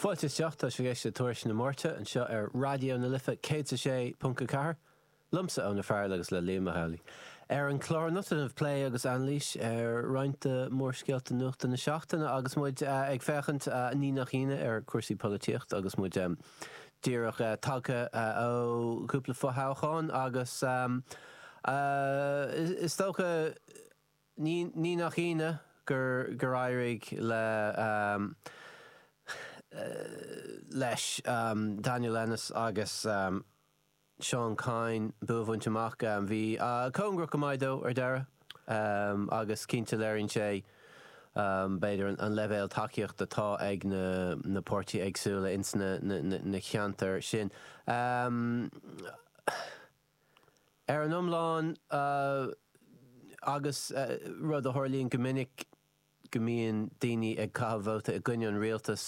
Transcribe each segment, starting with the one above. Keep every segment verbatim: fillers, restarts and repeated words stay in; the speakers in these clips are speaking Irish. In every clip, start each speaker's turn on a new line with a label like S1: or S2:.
S1: Fáilte isteach tá sibh ag éisteacht le Tuairisc na Máirte anseo ar Raidió na Life céad a sé ponc a ceathair, liomsa Eoin Ó Fearghail agus le Liam Mac Amhlaigh. Ar an chlár anocht plé agus anailís ar roinnt de mhórscéalta nuachta na seachtaine agus muid ag féachaint ní nach ionadh ar cúrsaí polaitíochta agus muid díreach tagtha ó chúpla fothoghchán agus is dócha ní nach ionadh gur gur éirigh le leis Daniel Ennis agus Seán Kyne bua a bhaint amach. Bhí cóngarach go maith dó ar deireadh agus cinnte léiríonn sé b'fhéidir an leibhéal tacaíochta atá ag na na páirtithe éagsúla ins na na ceantair sin. Ar an iomlán agus rud a tharlaíonn go minic go mbíonn daoine ag caitheamh vóta i gcoinne an rialtas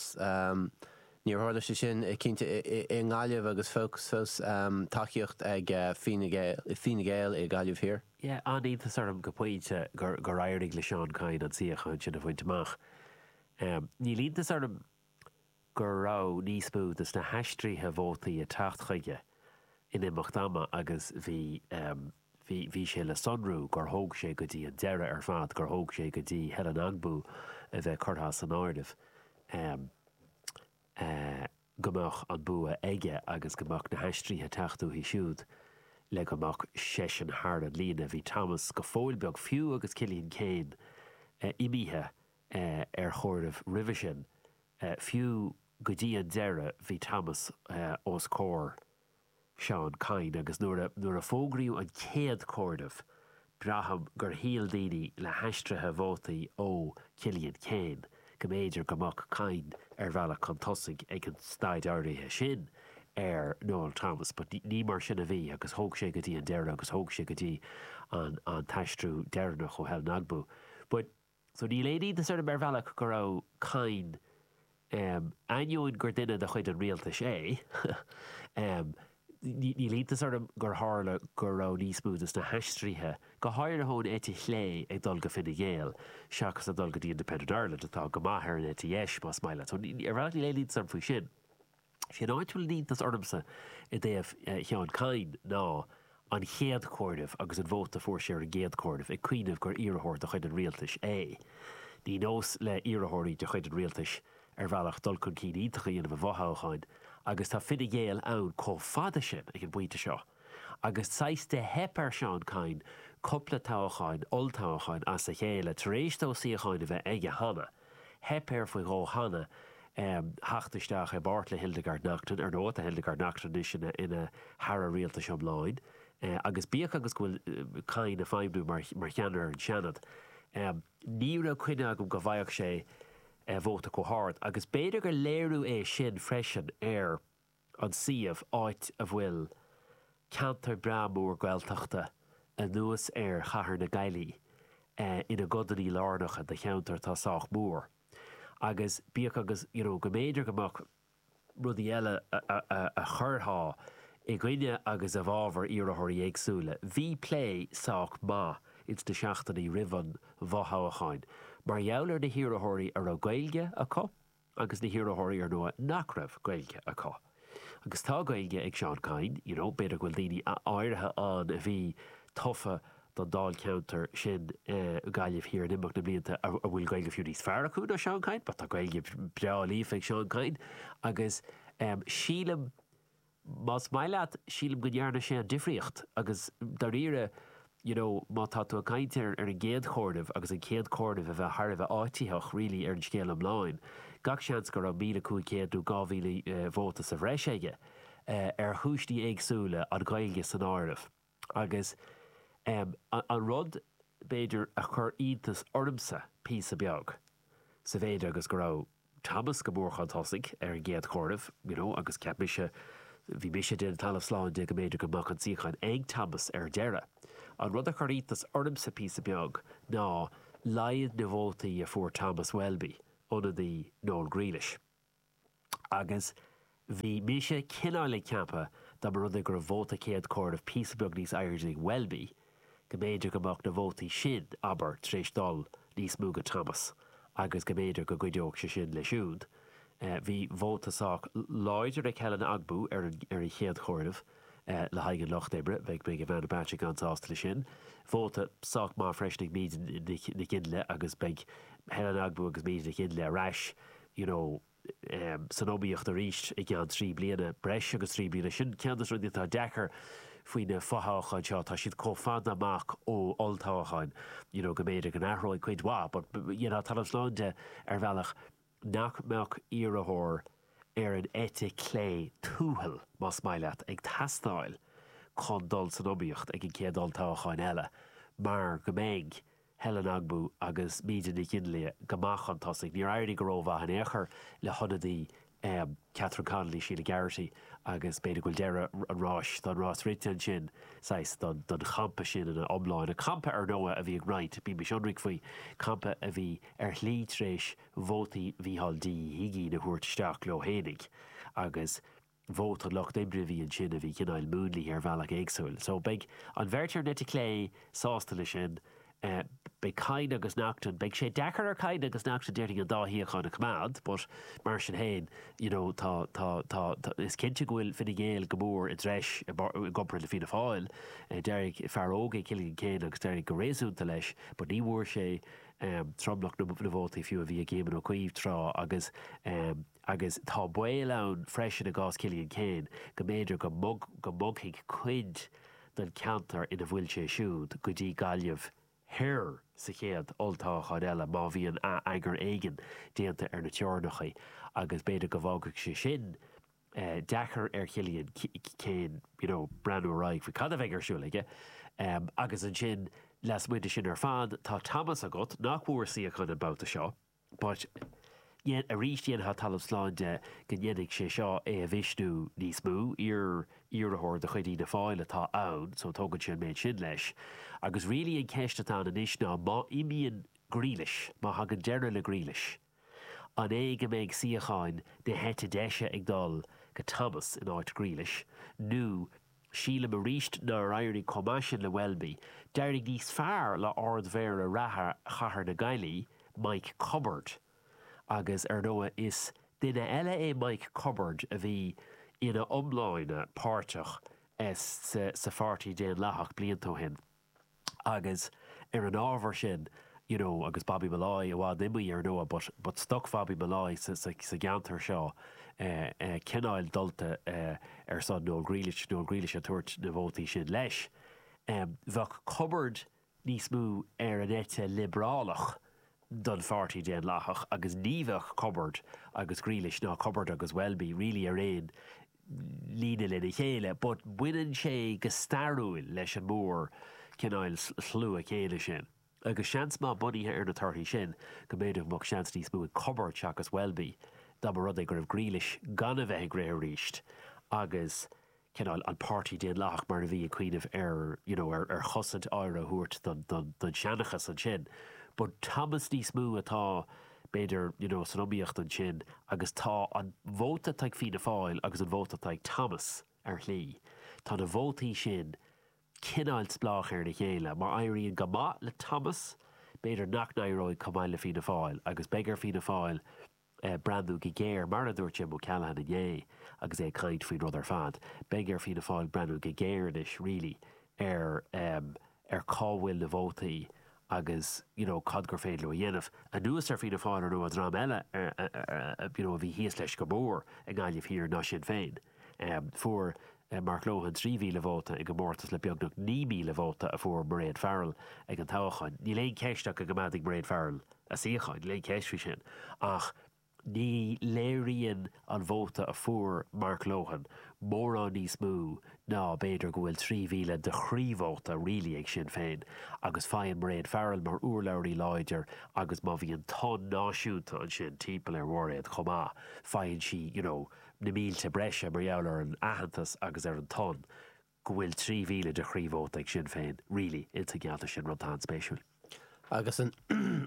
S1: níor tharla sé sin cinnte i nGaillimh agus fós tacaíocht ag Fine Gael i Gaillimh Thiar.
S2: Yeah, an-iontas orm go pointe gur gur éirigh le Seán Kyne an suíochán sin a bhaint amach. Níl iontas orm go raibh níos mó de na haistrithe vótaí ag teacht chuige in imeacht ama agus bhí bhí bhí sé le sonrú gur thóg sé go dtí an deireadh ar fad, gur thóg sé go dtí Helen Ogbu a bheith curtha san áireamh go mbeadh an bua aige agus go mbeadh na haistrithe ag teacht uaithi siúd le go mbeadh seisean thar an líne. Bhí Thomas go fóill beag fiú agus Cillian Keane imithe ar chomhaireamh roimhe sin. Fiú go dtí an deireadh bhí Thomas os comhair Seán Kyne agus nuair a nuair a fógraíodh an chéad chomhaireamh, braithim gur shíl daoine le haistrithe vótaí ó Cillian Keane go mb'fhéidir go mbeadh Kyne ar bhealach chun tosaigh ag an staid áirithe sin ar Noel Thomas, but ní mar sin a bhí agus thóg sé go dtí an deireadh agus thóg sé go dtí an an t-aistriú deireanach ó Helen Ogbu. But so níl aon iontas orm ar bhealach go raibh Kyne um, ainneoin gur duine de chuid an rialtais é um, níl iontas orm gur tharla go raibh níos mó de na haistrithe go háirithe ón eite chlé ag dul go Fine Gael seachas ag dul go dtí Independent Ireland atá go maith ar an eite dheis más maith leat. So ar bhealach níl aon iontas orm faoi sin. Sé an áit bhfuil iontas ormsa i dtaobh Sheán Kyne ná an chéad chomhaireamh agus an vóta fuair sé ar an gcéad chomhaireamh ag cuimhneamh gur iarrthóir de chuid an rialtais é. Ní nós le iarrthóirí de chuid an rialtais ar bhealach dul chun cinn iontach a dhéanamh i bhfothoghcháin agus tá Fine Gael ann chomh fada sin ag an bpointe seo. Agus saghas de theip ar Seán Kyne cúpla toghcháin olltoghcháin as a chéile tar éis dó suíocháin a bheith aige cheana. Theip air faoi dhó cheana um, theacht isteach i bpáirt le Hildegard Naughton ar ndóigh Hildegard Naughton anois ina ina haire rialtais iomláin. Uh, agus bíodh agus go bhfuil Kyne ag feidhmiú mar, mar cheannaire ar an Seanad. Um, ní raibh coinne agam go bhfaigheadh sé uh, vóta chomh hard, agus b'fhéidir gur léiriú é sin freisin ar an suíomh áit a bhfuil ceantar breá mór Gaeltachta anuas ar chathair na Gaillimhe uh, ina gcodanna lárnacha de cheantar atá sách mór. Agus bíodh agus you know, go mb'fhéidir go mbeadh rudaí eile a, a, a chuirfeadh i gcoinne agus i bhfabhar iarrthóirí éagsúla. Bhí plé sách maith ins na seachtainí roimh an bhfothoghchán, mar gheall ar na hiarrthóirí a raibh Gaeilge acu agus na hiarrthóirí ar ndóigh nach raibh Gaeilge acu. Agus tá Gaeilge ag Seán Kyne, you know, b'fhéidir go bhfuil daoine áirithe ann a bhí tofa don dáilcheantar sin uh, Gaillimh Thiar in imeacht na blianta a bhfuil Gaeilge fiú níos fearr acu ná Seán Kyne, but tá Gaeilge breá líofa ag Seán Kyne agus um, sílim más maith leat sílim go ndearna sé an difríocht agus dáiríre you know, má tá tú ag caint ar ar an gcéad chomhaireamh agus an chéad chomhaireamh a bheith thar a bheith áititheach really ar an scéal iomlán. Gach seans go raibh míle cúig chéad nó dhá mhíle uh, vóta sa bhreis aige uh, ar chúiseanna éagsúla an Ghaeilge san áireamh. Agus um, an, an rud b'fhéidir a chur iontas ormsa píosa beag sa mhéid agus go raibh Thomas go mór chun tosaigh ar an gcéad chomhaireamh you know, agus ceap mise bhí mise den talamh slán de go mb'fhéidir go mbeadh an suíochán ag Thomas ar deireadh. An rud a chur iontas ormsa píosa beag ná laghad na vótaí a fuair Thomas Welby, ionadaí Noel Grealish. Agus bhí mise cineál ag ceapadh dá mba rud é go raibh vóta céad chomhaireamh píosa beag níos airde ag Welby, go mb'fhéidir go mbeadh na vótaí sin abair tar éis dul níos mó go Thomas, agus go mb'fhéidir go gcuideodh sé sin le siúd Bhí vóta sách láidir ag Helen Ogbu ar an ar an chéad chomhaireamh le haghaidh an Lucht Oibre, bheadh beidh Ivana Bacik an-sásta leis sin. Vóta sách maith freisin ag Míde Nic Fhionnghaile agus beidh Helen Ogbu agus Míde Nic Fhionnghaile ar ais you know, san iomaíocht arís i gceann trí bliana, breis agus trí bliana. Sin ceann de na rudaí atá deacair faoi na fothoghcháin seo, tá siad chomh fada amach ó olltoghcháin you know, go mb'fhéidir go n-athróidh cuid mhaith, but you know, talamh slán de ar bhealach nach mbeadh iarrthóir ar an eite clé tuathail, más maith leat, ag teastáil chun dul san iomaíocht ag an chéad olltoghchán eile mar go mbeidh Helen Ogbu agus Míde Nic Fhionnghaile go maith chun tosaigh. Níor éirigh go rómhaith in aon chor le hionadaí Catherine Connolly, Sheila Garrity, agus b'fhéidir go bhfuil deireadh an ráis, tá an rás rite ansin, saghas, don don champa sin ina iomláine. Campa, ar ndóigh, a bhí ag roinnt, bímis ionraic faoi, campa a bhí ar shlí tar éis vótaí Mhícheál D. Uí hUigínn a thabhairt isteach leo fhéinig agus vóta an Lucht Oibre a bhí ansin a bhí cineál múnlaithe ar bhealach éagsúil. So beidh an bheirt ar an eite chlé sásta leis sin. Beidh Kyne agus Naughton, beidh sé deacair ar Kyne agus Naughton déarfainn an dá shuíochán a choimeád but mar sin féin you know tá, tá, tá, tá, is cinnte go bhfuil Fine Gael go mór i dtreis i gcomparáid le Fianna Fáil. D'éirigh fear óg é Cillian Keane agus d'éirigh go réasúnta leis but ní bhfuair sé tromlach na vótaí fiú a bhí ag Éamon Ó Cuív tráth agus agus tá baol ann freisin i gcás Cillian Keane go mb'fhéidir go go mbogfaidh cuid den cheantar ina bhfuil sé siúd go dtí Gaillimh Thoir sa chéad olltoghchán eile má bhíonn ath-eagar éigin déanta ar na teorainneacha agus b'fhéidir go bhfágfaidh sé sin deacair ar Chillian Keane you know breathnú ar aghaidh faoi cad a bheidh ar siúl aige. Agus ansin lasmuigh de sin ar fad tá Thomas agat nach bhfuair suíochán an babhta seo but arís dhéanfá talamh slán de go ndéanfaidh sé seo é a mhisniú níos mó, iar-iarrthóir de chuid Fhianna Fáil atá ann so tógann sé an méid sin leis. Agus really an cheist atá ann anois ná má imíonn Grealish, má thagann deireadh le Grealish, an é go mbeidh suíocháin na heite deise ag dul go Thomas in áit Grealish nó sílim arís nár éirigh chomh maith sin le Welby, d'éirigh níos fearr le Ard-Mhéara reatha Chathair na Gaillimhe, Mike Cubbard. Agus ar ndóigh is duine eile é Mike Cubbard a bhí ina iomláine páirteach sa Pháirtí Daonlathach blianta ó shin. Agus ar an ábhar sin, you know, agus Bobby Molloy i bhfad imithe ar ndóigh, but, but stoc Bhobby Molloy sa, sa, sa gceantar seo eh, eh, cineál dulta eh, ar son Noel Grealish, Noel Grealish ag tabhairt na vótaí sin leis. Um, bheadh Cubbard níos mó ar an eite liobrálach don Pháirtí Daonlathach agus ní bheadh Cubbard agus Grealish ná Cubbard agus Welby really ar aon líne lena chéile, but baineann sé go stairiúil leis an mór cineál slua céanna sin. Agus seans maith bunaithe ar na torthaí sin go mb'fhéidir go mbeadh seans níos mó ag Cubbard seachas Welby dá mba rud é go raibh Grealish gan a bheith ag rith arís agus cineál an Páirtí Daonlathach mar a bhí ag cuimhneamh ar you know ar ar chosaint áirithe a thabhairt don don don seanchas ansin. But Thomas níos mó atá b'fhéidir you know san iomaíocht ansin agus tá an vóta atá ag Fianna Fáil agus an vóta atá ag Thomas ar shlí. Tá na vótaí sin cineál spleách ar a chéile. Má éiríonn go maith le Thomas, b'fhéidir nach n-éireoidh chomh maith le Fianna Fáil agus beidh ar Fianna Fáil breathnú go géar, mar a dúirt Jim O'Callaghan inné agus é ag caint faoin rud ar fad, beidh ar Fianna Fáil breathnú go géar anois really ar ar cá bhfuil na vótaí agus you know cad gur féidir leo a dhéanamh. Anuas ar Fianna Fáil ar ndóigh dream eile you know a bhí thíos leis go mór i nGaillimh Thiar ná Sinn Féin. Fuair Mark Lohan trí mhíle vóta i gcomórtas le beagnach naoi míle vóta a fuair Mairéad Farrell ag an toghchán. Níl aon cheist ach go gcoimeádfaidh Mairéad Farrell a suíochán, níl aon cheist faoi sin. Ach ní léiríonn an vóta a fuair Mark Lohan mórán níos mó ná b'fhéidir go bhfuil trí mhíle de chroí-vóta really ag Sinn Féin agus faigheann Mairéad Farrell mar urlabhraí láidir agus má bhíonn tonn náisiúnta ansin timpeall ar Mhairéad chomh maith faigheann sí you know na mílte breise mar gheall ar an aitheantas agus ar an tonn go bhfuil trí mhíle de chroí-vóta ag Sinn Féin really insa gceantar sin, rud atá an-spéisiúil.
S1: Agus an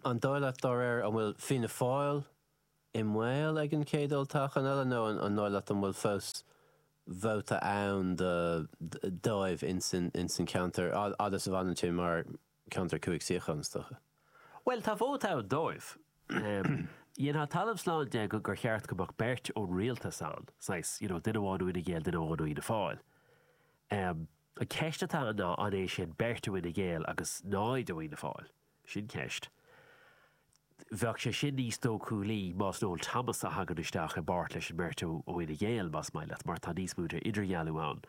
S1: an dóigh leat dá réir an bhfuil Fianna Fáil i mbaol ag an chéad olltoghchán eile nó an dóigh leat an bhfuil fós vóta ann dóibh ins an cheantar fhad is a bhfanann sé mar cheantar cúig suíochán is dócha?
S2: Bhuel, tá vóta ann dóibh. Dhéanfá talamh slán de go gur cheart go mbeadh beirt ón rialtas ann, saghas, you know, duine amháin ó Fhine Gael, duine amháin ó Fhianna Fáil. Um, an ceist atá ann ná an é sin beirt ó Fhine Gael agus náid ó Fhianna Fáil. Sin ceist. Bheadh sé sin níos dóchúlaí más Noel Thomas a thagann isteach i bpáirt leis an mbeirt ó Fhine Gael, más maith leat, mar tá níos mó de idirdhealú ann.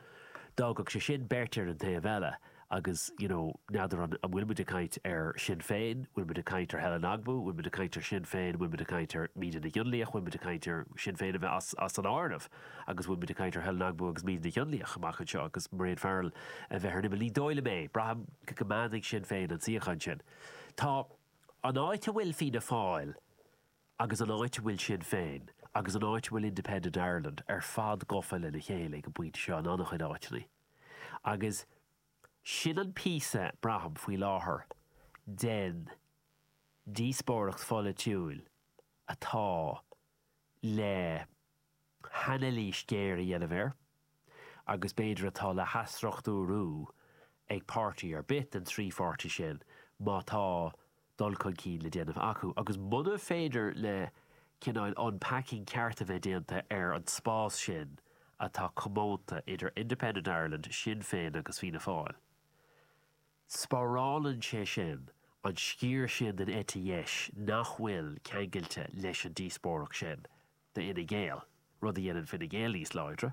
S2: D'fhágfadh sé sin beirt ar an taobh eile agus, you know, n'fheadar an bhfuil muid ag caint ar Sinn Féin, bhfuil muid ag caint ar Helen Ogbu, bhfuil muid ag caint ar Sinn Féin, bhfuil muid ag caint ar Míde Nic Fhionnlaoich, bhfuil muid ag caint ar Sinn Féin a bheith as, as an áireamh agus bhfuil muid ag caint ar Helen Ogbu agus Míde Nic Fhionnlaoich amach anseo agus Mairéad Farrell a bheith ar an imeall. Ní dóigh liom é, braithim go gcoimeádfaidh Sinn Féin an suíochán sin. Tá an áit a bhfuil Fianna Fáil agus an áit a bhfuil Sinn Féin agus an áit a bhfuil Independent Ireland ar fad gafa lena chéile ag an bpointe seo in an-chuid áiteanna. Agus sin an píosa braithim faoi láthair den díospóireacht pholaitiúil atá le hanailís ghéar a dhéanamh air agus b'fhéidir atá le hathstruchtúrú ag páirtí ar bith den trí pháirtí sin má tá dul chun cinn le déanamh acu. Agus muna féidir le cineál unpacking ceart a bheith déanta ar an spás sin atá comónta idir Independent Ireland, Sinn Féin agus Fianna Fáil. Spárálann sé sin an sciar sin den eite dheis nach bhfuil ceangailte leis an díospóireacht sin d'Fhine Gael, rud a dhéanann Fine Gael níos láidre,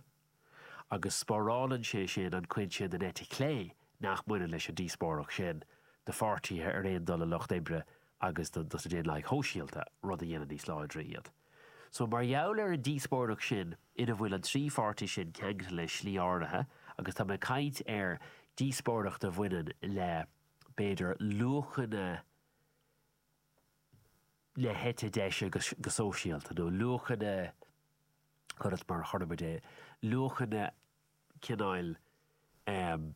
S2: agus spárálann sé sin an chuid sin den eite chlé nach mbaineann leis an díospóireacht sin do pháirtithe ar aon dul le Lucht Oibre agus do do na Daonlathaigh Shóisialta, rud a dhéanann níos láidre iad. So mar gheall ar an díospóireacht sin ina bhfuil an trí pháirtí sin ceangailte le slí áirithe agus tá mé ag caint ar díospóireacht a bhaineann le b'fhéidir luachanna na heite deise go go sóisialta nó luachanna conas mar a chuirfimid é, luachanna cineáil um,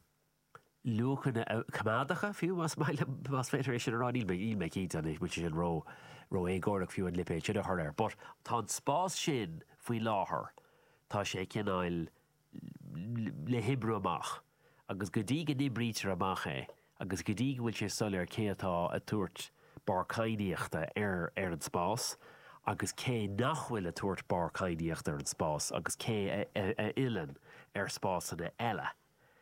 S2: luachanna coimeádacha fiú más maith liom más féidir é sin a rá níl mé níl mé cinnte an bhfuil sé sin ró ró-éagórach fiú an lipéad sin a chur air. But tá an spás sin faoi láthair tá sé cineál le hoibriú amach agus go dtí go n-oibrítear amach é agus go dtí go bhfuil sé soiléir cé atá ag tabhairt barr cadhnaíochta ar ar an spás agus cé nach bhfuil ag tabhairt barr cadhnaíochta ar an spás agus cé a, a, a fhilleann ar spásanna eile.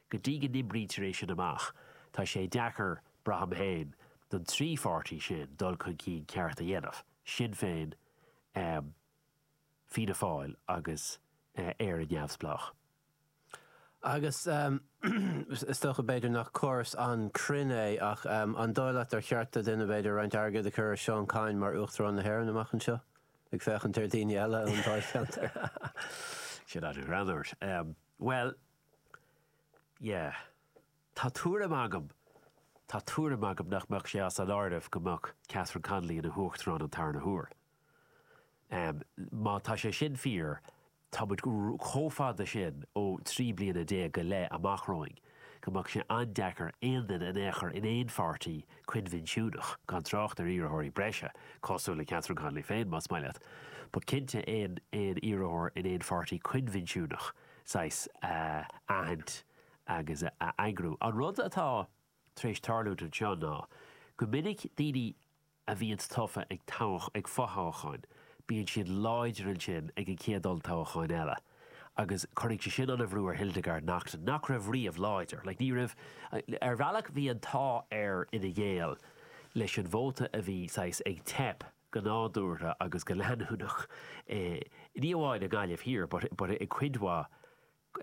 S2: Go dtí go n-oibrítear é sin amach, tá sé deacair braithim féin don trí pháirtí sin dul chun cinn ceart a dhéanamh. Sinn Féin, um, Fianna Fáil agus uh, Éire Neamhspleách.
S1: Agus um, is dócha b'fhéidir nach córas an-chruinn é ach um, an dóigh leat ar cheart do duine b'fhéidir roinnt airgid a chur ar Seán Kyne mar Uachtarán na hÉireann amach anseo? Ag féachaint ar daoine eile ón Dáilcheantar.
S2: Sin an-ghreannmhar. Um, well, yeah. Tá tuairim agam Tá tuairim agam nach mbeadh sé as an áireamh go mbeadh Catherine Connolly ina huachtarán an tarna huair. Um, má tá sé sin fíor, tá muid chomh fada sin ó trí bliana déag go leith amach romhainn, go mbeadh sé an-deacair aon duine in aon chor in aon pháirtí coinbhinsiúnach gan trácht ar iarrthóirí breise, cosúil le Catherine Connolly féin más maith leat. But cinnte aon aon iarrthóir in aon pháirtí coinbhinsiúnach saghas uh, aithint agus a, a eagrú. An rud atá tar éis tarlú anseo ná go minic daoine a bhíonn tofa ag toghadh ag fothoghcháin, bíonn siad láidir ansin ag an chéad olltoghchán eile. Agus cuirfidh sé sin an-bhrú ar Hildegarde Naughton nach raibh riamh láidir, like, ní raibh ar bhealach bhí an t-ádh ar Fhine Gael leis an vóta a bhí saghas ag teip go nádúrtha agus go leanúnach eh, ní amháin i Gaillimh Thiar, but, but i cuid mhaith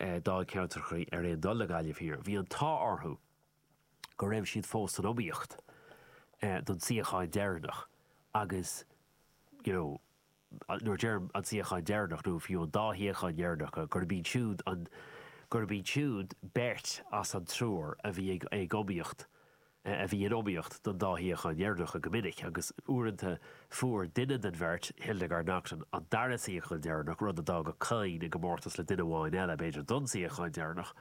S2: eh, dáilcheantracha ar aon dul le Gaillimh Thiar. Bhí an t-ádh orthu go raibh siad fós san iomaíocht eh, don suíochán deireanach agus you know, nuair deirim an suíochán deireanach nó fiú an dá shuíochán deireanacha gurb iad siúd an gurb iad siúd beirt as an triúr a bhí ag ag iomaíocht a bhí in iomaíocht don dá shuíochán dheireanacha go minic agus uaireanta fuair duine den bheirt Hildegarde Naughton an dara suíochán deireanach rud a d'fhág Kyne i gcomórtas le duine amháin eile b'fhéidir don suíochán deireanach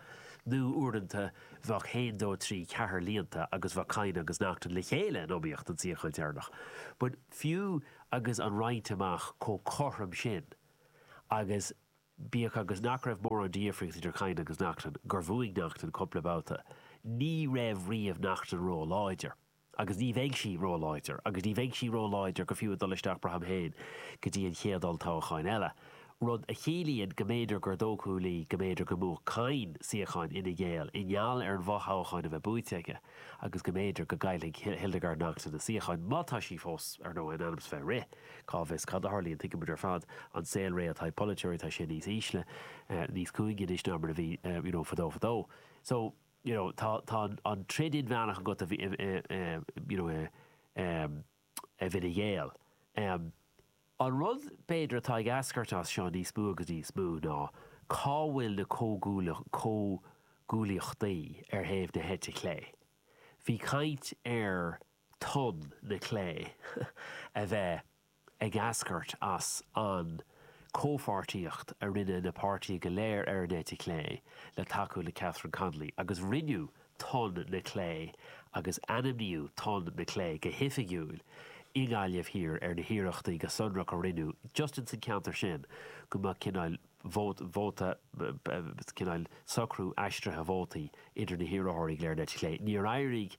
S2: nó uaireanta bheadh haon dó trí ceathair líonta agus bheadh Kyne agus Naughton le chéile in iomaíocht don suíochán deireanach. But fiú agus an roinnt amach chomh cothrom sin agus bíodh agus nach raibh mórán difríocht idir Kyne agus Naughton gur bhuaigh Naughton cúpla babhta. Ní raibh riamh Naughton ró láidir. Agus ní bheidh sí róláidir, agus ní bheidh sí róláidir go fiú ag dul isteach braithim féin go dtí an chéad olltoghchán eile. Rud a chiallaíonn go mb'fhéidir gur dóchúlaí go mb'fhéidir go mbuafadh Kyne suíochán Fhine Gael i ngeall ar an bhfothoghchán a bheith buaite aige agus go mb'fhéidir go gcaillfidh Hildegarde Naughton a suíochán, má tá sí fós, ar ndóigh, in ainm is bheith ag rith. Cá bhfios cad a tharlaíonn, tuigimid ar fad an saolré atá ag polaiteoirí, tá sé níos ísle, níos cúinge anois ná mar a bhí, you know, fadó fadó. So, you know, tá, tá an troid inmheánach agat a bhí, you know, i, i bhFine Gael. An rud, b'fhéidir, atá ag eascairt as seo níos mó agus níos mó ná cá bhfuil na comhghuaillíochtaí ar thaobh na heite clé. Bhí caint ar tonn na clé a bheith ag eascairt as an comhpháirtíocht a rinne na páirtithe go léir ar an eite chlé le tacú le Catherine Connolly agus rinneadh tonn na clé agus ainmníodh tonn na clé go hoifigiúil i nGaillimh Thiar ar na hiarrachtaí go sonrach a rinneadh just ins an ceantar sin go mbeadh cineál vóta, cineál socrú aistrithe vótaí idir na hiarrthóirí go léir ar an eite chlé. Níor éirigh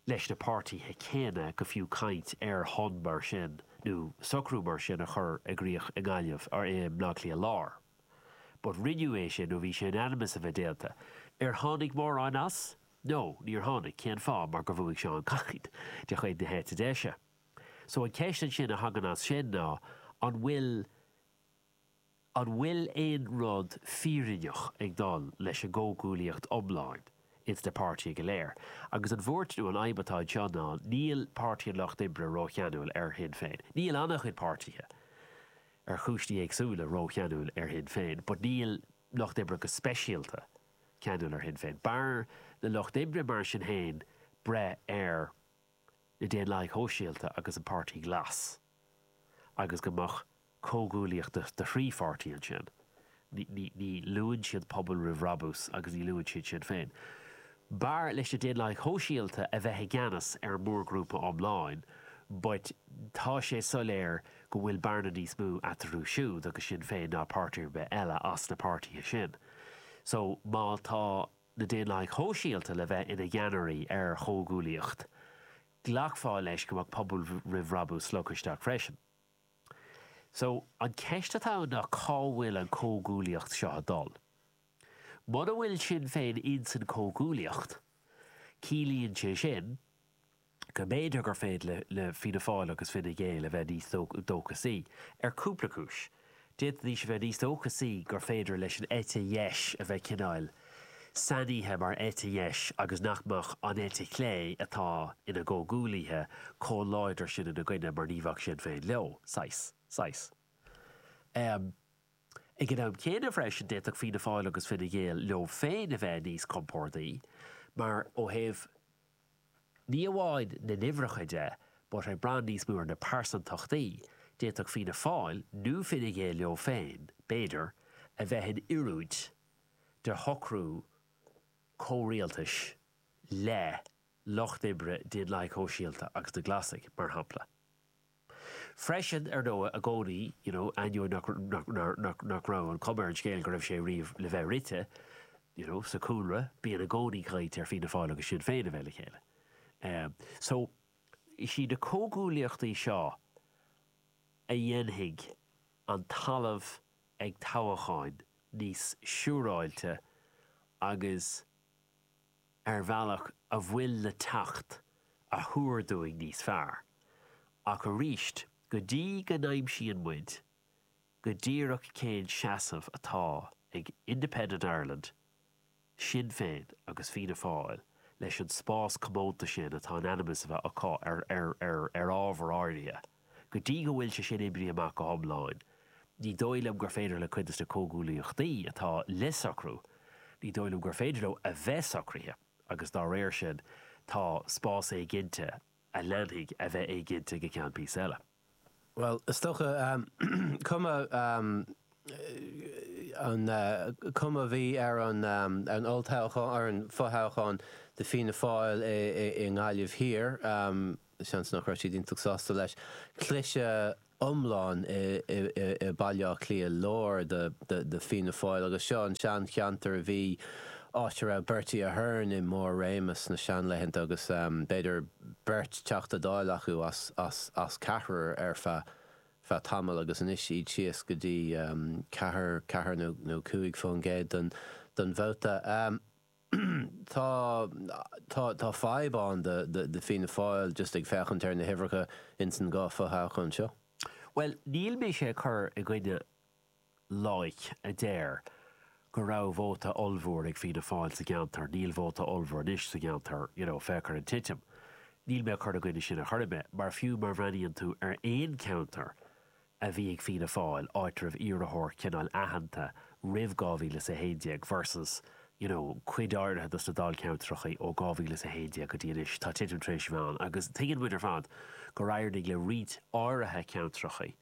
S2: leis na páirtithe céanna go fiú caint ar thonn mar sin nó socrú mar sin a chur i gcrích i nGaillimh or i mBleá Cliath Láir. But rinneadh é sin nó bhí sé in ainm is a bheith déanta. Ar tháinig mórán as? No, níor tháinig. Cén fáth? Mar gur bhuaigh Seán Kyne de chuid na heite deise. So an cheist ansin a thagann as sin ná an bhfuil an bhfuil aon rud fírinneach ag dul leis an gcomhghuaillíocht iomlán ins na páirtithe go léir? Agus an bhuairt nó an fhadhb atá anseo ná níl Páirtí an Lucht Oibre rócheanúil ar Shinn Féin. Níl an-chuid páirtithe, ar chúinsí éagsúla, rócheanúil ar Shinn Féin, but níl Lucht Oibre go speisialta ceanúil ar Shinn Féin. B'fhearr le Lucht Oibre mar sin féin breith ar na Daonlathaigh Shóisialta agus an Páirtí Glas agus go mbeadh comhghuaillíocht de thrí pháirtí ansin. Ní luann siad Pobal Roimh Bhrabús agus ní luann siad Sinn Féin. B'fhearr leis na Daonlathaigh Shóisialta a bheith i gceannas ar an mórghrúpa iomlán but tá sé soiléir go bhfuil bearna níos mó eatarthu siúd agus Sinn Féin ná páirtí ar bith eile as na páirtithe sin. So má tá na Daonlathaigh Shóisialta le bheith ina gceannairí ar chomhghuaillíocht, glacfá leis go mbeadh Pobal Roimh Bhrabús slogtha isteach freisin. So, an ceist atá ann ná cá bhfuil an comhghuaillíocht seo ag dul? Muna bhfuil Sinn Féin ins an comhghuaillíocht, ciallaíonn sé sin go mb'fhéidir gur féidir le Fianna Fáil agus Fine Gael a bheith níos dóchasaí, ar cúpla cúis. D'fhéadfaidís a bheith níos dóchasaí gur féidir leis an eite dheis a bheith cineál sainithe mar eite dheis agus nach mbeadh an eite chlé atá ina gcomhghuaillithe chomh láidir sin ina gcoinne mar ní bheadh Sinn Féin leo. Saghas. Saghas. Ag an am céanna freisin d'fhéadfadh Fianna Fáil agus Fine Gael leo féin a bheith níos compordaí mar ó thaobh ní amháin na n-uimhreacha de but ag brath níos mó ar na pearsantachtaí, d'fhéadfadh Fianna Fáil nó Fine Gael leo féin, b'fhéidir, a bheith in oiriúint do shocrú comhrialtais le Lucht Oibre, Daonlathaigh Shóisialta agus na Glasaigh, mar shampla. Freisin, ar ndóigh, i gcónaí, you know, ainneoin nach, nach, nach, nach raibh an chuma ar an scéal go raibh sé riamh le bheith rite, you know, sa chúlra, bíonn i gcónaí caint ar Fianna Fáil agus Sinn Féin a bheith le chéile. Um, so, is iad na comhghuaillíochtaí seo a dhéanfaidh an talamh ag toghcháin níos siúráilte agus ar bhealach a bhfuil le teacht a thuar dúinn níos fearr. Ach arís, go dtí go n-aimsíonn muid go díreach cén seasamh atá ag Independent Ireland, Sinn Féin agus Fianna Fáil leis an spás comónta sin atá in ainm is a bheith acu ar ar ábhar áirithe, go dtí go bhfuil sé sin oibrithe amach go hiomlán, ní dóigh liom gur féidir le cuid de na comhghuaillíochtaí atá le socrú, ní dóigh liom gur féidir leo a bheith socraithe agus dá réir sin tá spás éiginnte a leanfaidh a bheith éiginnte go ceann píosa eile.
S1: Bhuel, is dócha, cuma an cuma a bhí ar an olltoghchán, ar an fothoghchán do Fianna Fáil i nGaillimh Thiar, seans nach raibh siad iontach sásta leis, cliseadh iomlán i Baile Átha Cliath Láir do Fianna Fáil agus seo an seancheantar a bhí áit a raibh Bertie Ahern i mbarr réimeas na seanlaethanta agus um, b'fhéidir beirt Teachta Dála acu as, as, as ceathrar ar feadh feadh tamall agus anois iad síos go dtí um, ceathair ceathair nó, nó cúig faoin gcéad den, den vóta. Um, tá tá tá fadhb ann de, de, de Fianna Fáil just ag féachaint ar na huimhreacha ins an dhá fhothoghchán seo.
S2: Well, níl mé ag cur i gcoinne loighic a deir go raibh vóta ollmhór ag Fianna Fáil sa gceantar, níl vóta ollmhór anois sa gceantar, you know, féach ar an titim. Níl mé cur i gcoinne sin a chur mé, mar fiú má bhreathnaíonn tú ar aon cheantar a bhí ag Fianna Fáil áit raibh iarrthóir cineál aitheanta roimh dhá mhíle is a haon déag versus you know, cuid áirithe dos na dáilcheantracha ó dhá mhíle is a haon déag go dtí anois tá titim tar éis bheith ann agus tuigeann muid ar fad gur éirigh le roinnt áirithe ceantracha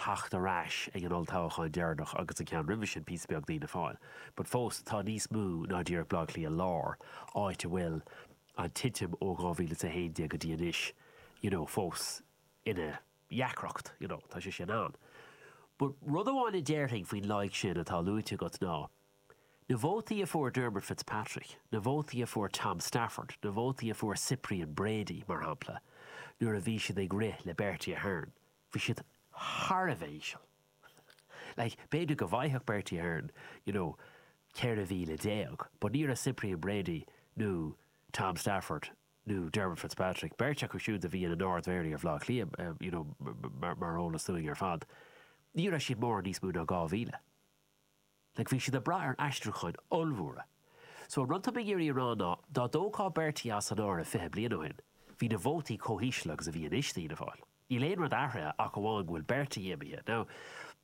S2: theacht ar ais ag an olltoghchán deireanach agus an ceann roimhe sin píosa beag d'Fhianna Fáil. But fós tá níos mó ná díreach Baile Átha Cliath Lár áit a bhfuil an titim ó dhá mhíle is a haon déag go dtí anois you know, fós ina dheacracht, you know, tá sé sin ann. But rud amháin a déarfainn faoin loighic sin atá luaite agat ná, Na vótaí a fuair Dermot Fitzpatrick, na vótaí a fuair Tom Stafford, na vótaí a fuair Cyprian Brady mar shampla, nuair a bhí siad ag rith le Bertie Ahern, bhí siad thar a bheith íseal. Like, b'fhéidir go bhfaigheadh Bertie Ahern, you know, ceithre mhíle déag, but ní raibh Cyprian Brady nó Tom Stafford nó Dermot Fitzpatrick, beirt acu siúd a bhí ina n-ardmhéaraí ar Bhaile Átha Cliath, um, you know, mar, mar eolas dúinn ar fad. Ní raibh siad mór níos mó ná dhá mhíle. Like bhí siad ag brath ar aistriúcháin ollmhóra. So an rud atá mé ag iarraidh a rá ná dá dtógfá Bertie as an áireamh fiche bliain ó shin, bhí na vótaí chomh híseal agus a bhí anois d'Fhianna Fáil. Níl aon rud athraithe ach amháin go bhfuil Bertie imithe. Now,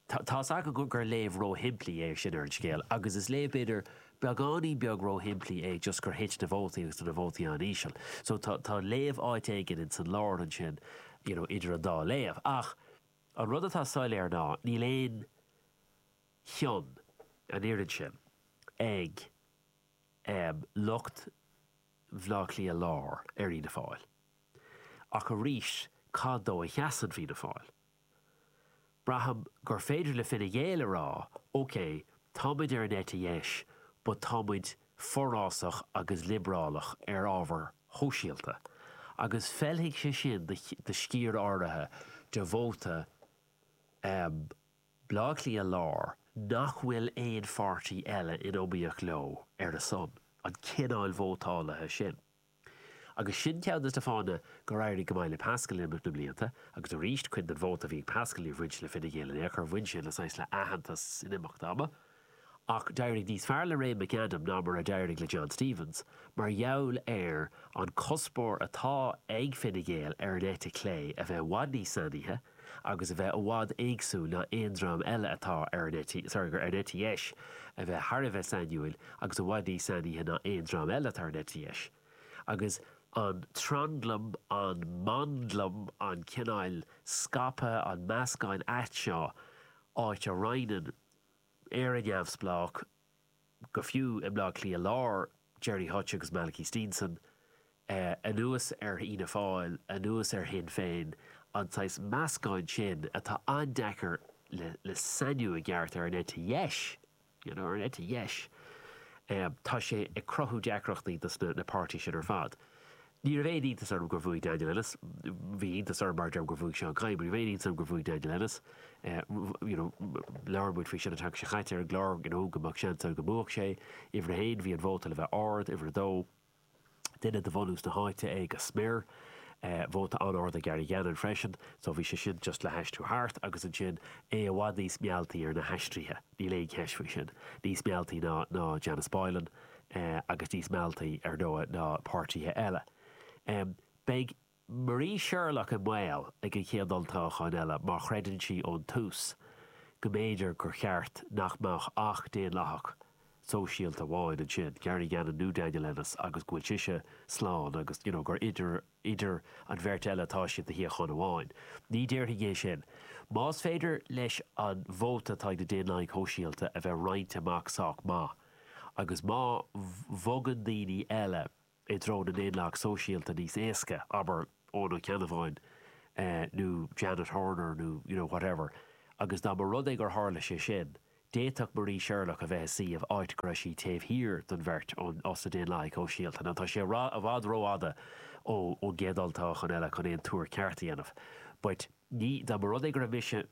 S2: tá's agam gur léamh róshimplí é sin ar an scéal, agus is léamh b'fhéidir beagáinín beag róshimplí é just gur thit na vótaí agus na vótaí an-íseal. So tá, tá léamh áit éigin in san lár ansin you know, idir an dá léamh. Ach an rud atá soiléir ná níl aon chion an oiread sin ag um, lucht Bhaile Átha Cliath Lár ar Fhianna Fáil. Ach arís cad dó a sheasann Fianna Fáil. Braithim gur féidir le Fine Gael a rá, OK, táimid ar an eite dheis, but táimid forásach agus liobrálach ar ábhair shóisialta. Agus feilfidh sé sin do sciar áirithe de vóta um, Baile Átha Cliath Lár nach bhfuil aon pháirtí eile in iomaíocht leo ar a son, an cineál vótálaithe sin. Agus sin ceann de na fáthanna gur éirigh go maith le Pascal in imeacht na blianta, agus arís cuid den vóta a bhí ag Pascal níor bhain sé le Fine Gael in aon chor bhain sé le saghas le aitheantas in imeacht ama. Ach d'éirigh níos fearr le Ray McAdam ná mar a d'éirigh le John Stevens, mar gheall ar an cuspóir atá ag Fine Gael ar an eite clé a bheith i bhfad níos sainithe agus a bheith i bhfad éagsúil ná aon dream eile atá ar an eite sorry, ar an eite dheis a bheith thar a bheith sainiúil agus i bhfad níos sainithe ná aon dream eile atá ar an eite dheis. Agus an tranglam, an mandlam, an cineál scaipthe, an meascán ait seo áit a roinneann Éire Neamhspleách go fiú i mBaile Átha Cliath Lár, Gerry Hutch agus Malachy Steenson, eh, anuas ar Fhianna Fáil, anuas ar Shinn Féin, an saghas meascán sin atá an-deacair le, le sainiú i gceart ar an eite dheis, you know, ar an eite dheis. Um, tá sé ag cruthú deacrachtaí dos na, na páirtithe sin ar fad. Ní raibh aon iontas orm gur bhuaigh Daniel Ennis, bhí iontas orm mar gur bhuaigh Seán Kyne, ní raibh aon iontas orm gur bhuaigh Daniel Ennis. Uh, you know, labhair muid faoi sin an tseachtain seo caite ar an gclár you know, go mbeadh seans go mbuafadh sé, uimhir a haon bhí an vóta le bheith ard, uimhir a dó, duine de bhunús na háite é go smior, uh, vóta an-ard ag Gary Gannon freisin, so bhí sé sin just le haistriú thart agus ansin é i bhfad níos mealltaí ar na haistrithe, níl aon cheist faoi sin, níos mealltaí ná, ná Janice Boylan uh, agus níos mealltaí ar ndóigh ná páirtithe eile. Um, beidh Marie Sherlock i mbaol ag an chéad olltoghchán eile má chreideann sí ón tús go mb'fhéidir gur cheart nach mbeadh ach daonlathach sóisialta amháin ansin, Gary Gannon nó Daniel Ennis agus go bhfuil sise slán agus you know, gur idir, idir an bheirt eile atá siad do shuíochán amháin. Ní déarfaidh é sin. Más féidir leis an vóta atá ag na Daonlathaigh Shóisialta a bheith roinnte amach sách maith, agus má bhogann daoine eile i dtreo na nDaonlathach Sóisialta níos éasca, abair Eoin Ó Ceannabháin eh, nó Janet Horner nó you know, whatever. Agus dá mba rud é gur tharla sé sin, D'fhéadfadh Marie Sherlock a bheith i suíomh áit go raibh sí taobh thiar den bheirt ón os na Daonlathaigh Shóisialta. Now tá sé i bhfad rófhada ón gcéad olltoghchán eile chun aon tuar ceart a dhéanamh. But ní, dá mba rud é go raibh mise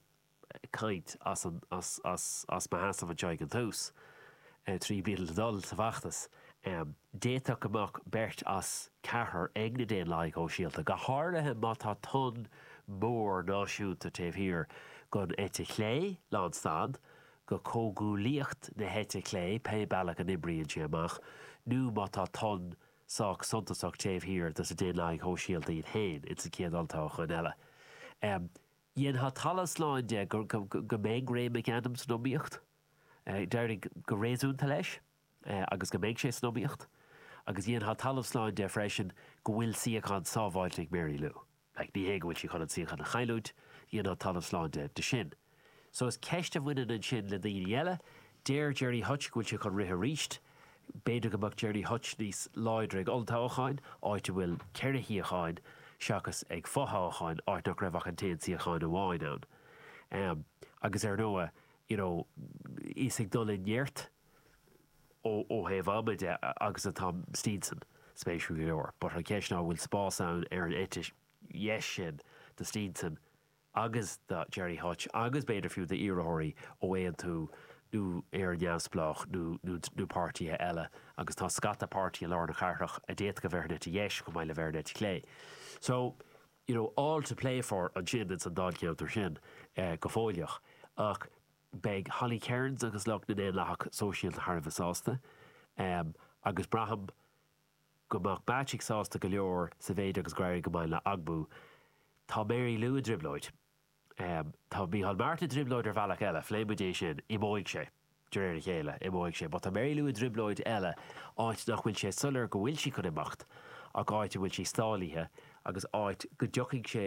S2: ag caint as an, as, as, as mo sheasamh anseo ag an tús, trí bliana le dul sa bhfeachtas, d'fhéadfadh go mbeadh beirt as ceathrar ag na Daonlathaigh Shóisialta, go háirithe má tá tonn mór náisiúnta taobh thiar den eite chlé, lánstad, go comhghuaillíocht na heite clé, pé bealach a n-oibríonn sé amach, nó má tá tonn sách suntasach taobh thiar dos na Daonlathaigh Shóisialta iad féin ins an chéad olltoghchán eile. Dhéanfá talamh slán de go mbeidh Ray McAdam san iomaíocht. D'éirigh go réasúnta leis agus go mbeidh sé san iomaíocht. Agus dhéanfá talamh slán de freisin go bhfuil suíochán sábháilte ag Mary Lou. Like, ní hé go bhfuil sí chun an suíochán a chailliúint, dhéanfá talamh slán de de sin. So is ceist a bhaineann ansin le daoine eile. Deir Gerry Hutch go bhfuil sé chun rith arís. B'fhéidir go mbeadh Gerry Hutch níos láidre ag olltoghcháin, áit a bhfuil ceithre shuíocháin, seachas ag fothoghcháin, áit nach raibh ach an t-aon suíochán amháin ann. Agus ar ndóigh, you know, is ag dul i neart ó thaobh ama de agus atá Steenson, spéisiúil go leor. But an cheist ná an bhfuil spás ann ar an eite dheis sin do Steenson agus do Gerry Hutch agus b'fhéidir fiú d'iarrthóirí ó Aontú nó Éire Neamhspleách nó nó páirtithe eile agus tá scata páirtí i lár na cathrach a d'fhéadfadh a bheith ar an eite dheis chomh maith le bheith ar an eite chlé. So, you know, all to play for ansin ins an dáilcheantar sin go fóilleach. Ach beidh Holly Cairns agus lucht na nDaonlathach Sóisialta thar a bheith sásta agus braithim go mbeadh Bacik sásta go leor sa mhéid agus gur éirigh go maith le AGBU. Tá Mary Lou i dtrioblóid. Tá Micheál Martin i dtrioblóid ar bhealach eile, phléigh muid é sin, imeoidh sé, de réir a chéile, imeoidh sé. But tá Mary Lou i dtrioblóid eile, áit nach bhfuil sé soiléir go bhfuil sí chun imeacht ach áit a bhfuil sí stálaithe agus áit go dtiocfaidh sé,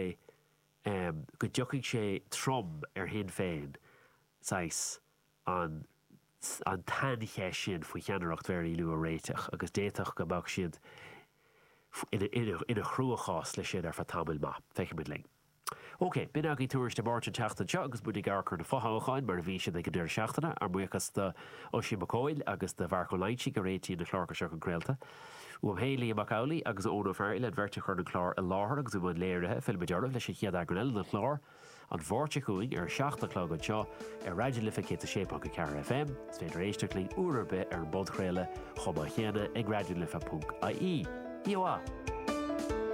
S2: go dtiocfaidh sé trom ar Shinn Féin saghas an an tsaincheist sin faoi cheannaireacht Mhary Lou a réiteach agus d'fhéadfadh go mbeadh siad ina ina chruachás leis sin ar feadh tamaill maith. Feicfimid linn. OK, b'in agaibh Tuairisc na Máirte an tseachtain seo agus muid ag amharc ar na fothoghcháin mar a bhí siad ag an deireadh seachtaine. Ár mbuíochas do Oisín Mac Cóil agus do Mharc Ó Loingsigh a réitíonn na cláracha seo chun craolta. Uaim féin, Liam Mac Amhlaigh agus Eoin Ó Fearghail, an bheirt a chuireann an clár i láthair agus i mbun léirithe, fillfimid oraibh leis an chéad eagrán eile den chlár an Mháirt seo chugainn ar a seacht a chlog anseo ar Raidió na Life céad a sé ponc a ceathair FM. Is féidir éisteacht linn uair ar bith ar an bpodchraoladh chomh maith céanna ag raidionalife ponc ie. Oíche mhaith!